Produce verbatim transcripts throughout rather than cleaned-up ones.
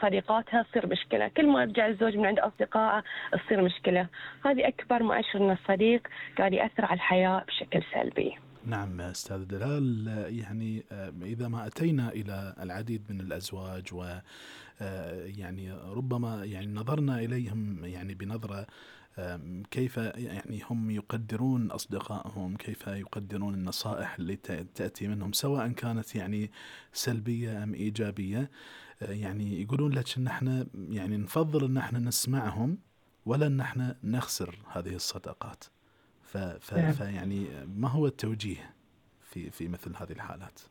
صديقاتها تصير مشكلة، كل ما يرجع الزوج من عند أصدقائه تصير مشكلة. هذه أكبر مؤشر أن الصديق قاعد يأثر على الحياة بشكل سلبي. نعم أستاذ دلال، يعني إذا ما أتينا إلى العديد من الأزواج و يعني ربما يعني نظرنا إليهم يعني بنظرة كيف يعني هم يقدرون أصدقائهم، كيف يقدرون النصائح اللي تأتي منهم سواء كانت يعني سلبية أم إيجابية، يعني يقولون لك إن احنا يعني نفضل إن احنا نسمعهم ولا إن احنا نخسر هذه الصداقات. ف ف نعم. فيعني ما هو التوجيه في في مثل هذه الحالات؟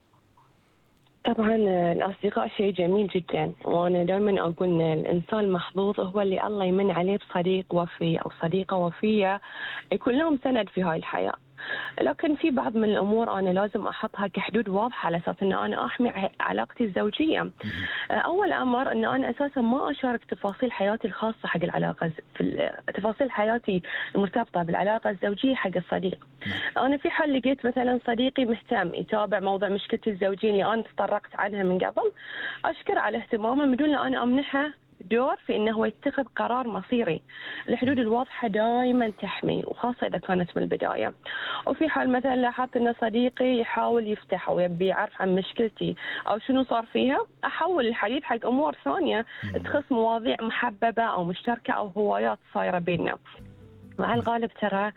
طبعا الأصدقاء شيء جميل جدا، وأنا دائما أقول إن الإنسان المحظوظ هو اللي الله يمن عليه بصديق وفي أو صديقة وفية يكون لهم سند في هاي الحياة. لكن في بعض من الأمور أنا لازم أحطها كحدود واضحة على أساس أن أنا أحمي علاقتي الزوجية. أول أمر أن أنا أساسا ما أشارك تفاصيل حياتي الخاصة حق العلاقة، في تفاصيل حياتي المرتبطة بالعلاقة الزوجية حق الصديق. أنا في حال لقيت مثلا صديقي مهتم يتابع موضوع مشكلتي الزوجية اللي أنا تطرقت عنها من قبل، أشكر على اهتمامه بدون أن أنا أمنحه دور في إنه هو يتخذ قرار مصيري. الحدود الواضحة دائما تحمي، وخاصة إذا كانت من البداية. وفي حال مثلا لاحظت إن صديقي يحاول يفتح أو يبي يعرف عن مشكلتي أو شنو صار فيها، أحول الحديث حق أمور ثانية تخص مواضيع محببة أو مشتركة أو هوايات صايرة بيننا. مع الغالب ترى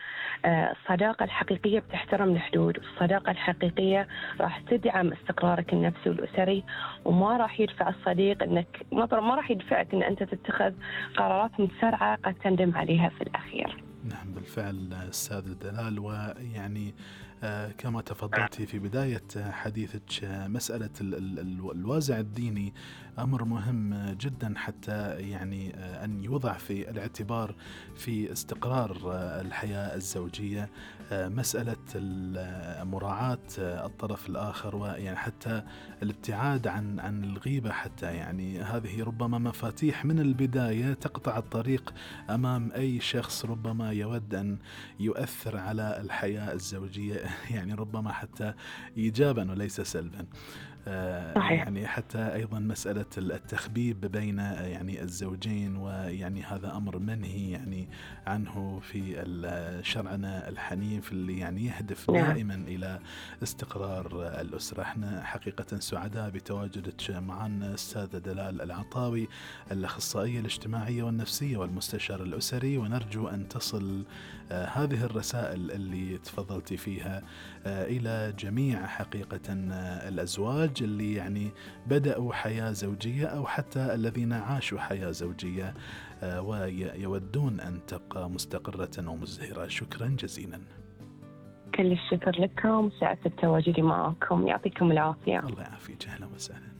الصداقة الحقيقية بتحترم الحدود، والصداقة الحقيقية راح تدعم استقرارك النفسي والأسري، وما راح يدفع الصديق إنك ما ما راح يدفعك إن أنت تتخذ قرارات متسرعة قد تندم عليها في الأخير. نعم بالفعل أستاذ دلال، ويعني آه كما تفضلتي في بداية حديثك، آه مسألة ال ال ال الوازع الديني أمر مهم جدا حتى يعني آه أن يوضع في الاعتبار في استقرار آه الحياة الزوجية. آه مسألة مراعاة آه الطرف الآخر، ويعني حتى الابتعاد عن عن الغيبة، حتى يعني هذه ربما مفاتيح من البداية تقطع الطريق أمام أي شخص ربما يود أن يؤثر على الحياة الزوجية، يعني ربما حتى إيجابا وليس سلبا. يعني حتى أيضا مسألة التخبيب بين يعني الزوجين، ويعني هذا أمر منهي يعني عنه في شرعنا الحنيف اللي يعني يهدف دائما إلى استقرار الأسرة. احنا حقيقة سعداء بتواجدك معنا أستاذة دلال العطاوي، الأخصائية الاجتماعية والنفسية والمستشار الأسري، ونرجو أن تصل هذه الرسائل اللي تفضلتي فيها إلى جميع حقيقة الأزواج اللي يعني بدأوا حياة زوجية أو حتى الذين عاشوا حياة زوجية ويودون أن تبقى مستقرة ومزدهرة. شكرا جزيلا. كل الشكر لكم، سعدت بتواجدي معكم، يعطيكم العافية. الله يعافيك، أهلا وسهلا.